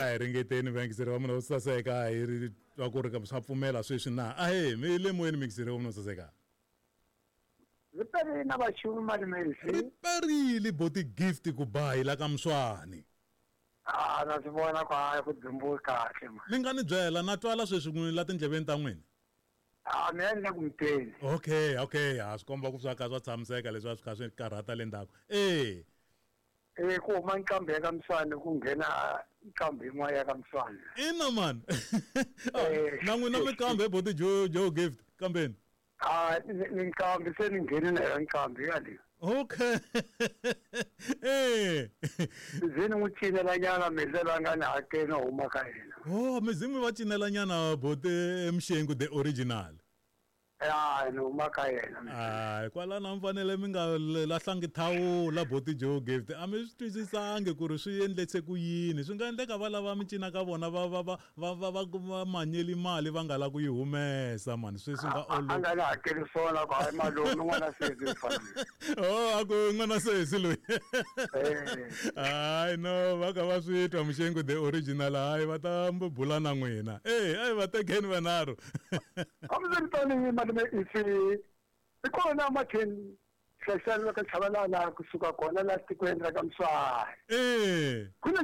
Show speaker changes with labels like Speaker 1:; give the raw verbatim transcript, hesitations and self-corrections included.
Speaker 1: A hi ringeteni vayingiseri va mina vo saseka, hi ri twa ku ri ka swa pfumela sweswi na. Ahe, mi le moyeni muyingiseri wa mina wo saseka.
Speaker 2: Ri perile na vaxumi malume
Speaker 1: Ri
Speaker 2: isi.
Speaker 1: perile boti Gift ku ba hi la ka Mswani.
Speaker 2: Ah, na swi vona ku hayi ku dzumbiwe kahle ma.
Speaker 1: Mi nga ni byela na twala sweswi n'wini la tindleveni ta n'wina.
Speaker 2: Ah, mina ni le ku muteni.
Speaker 1: Okay, okay, ha swi komba ku swa ka swa tshamiseka leswi a swi kha swi karhata le ndzhaku. Eh.
Speaker 2: Eh, ku huma nqambi ya ka Mswani ku nghena nqambi yin'wana ya ka Mswani.
Speaker 1: Ina man.
Speaker 2: Eh.
Speaker 1: Na n'wina mi kambe boti Joe Joe Gift kambeni.
Speaker 2: Ah, ni ni nqambi se ni ngheni na yona nqambi yaleyo.
Speaker 1: Okay. Eh.
Speaker 2: Ze ni n'wi cinela nyana mezelo a nga ni hakeli no huma ka yena.
Speaker 1: Oh, mizimu va cinela nyana bote Mshengu the original.
Speaker 2: Ya, ni huma ka yena.
Speaker 1: Hayi, kwalano a mi fanele mi nga lahlangi thawula boti Joe Gift. A mi swi twisisangi ku ri swi endlise ku yini. Swi nga endleka va lava mi cina ka vona va va va va va va va manyeli mali va nga la ku yi humesa mani. Swi swi nga
Speaker 2: A
Speaker 1: olovi.
Speaker 2: nga ni hakeli swona ku hayi malume n'wana sesi u fana.
Speaker 1: Oh, a ku n'wana sesi loyi.
Speaker 2: Eh.
Speaker 1: Hayi no, va kha va swi twa Mshengu the original, hayi va ta bula na n'wina. Eh, hayi va tekeni vanharhu.
Speaker 2: Hambiswiritano malume isi i kona matheni hlayisani va ka Chabalala kusuka kona la tikweni ra ka Mswani.
Speaker 1: Eh.
Speaker 2: Ku na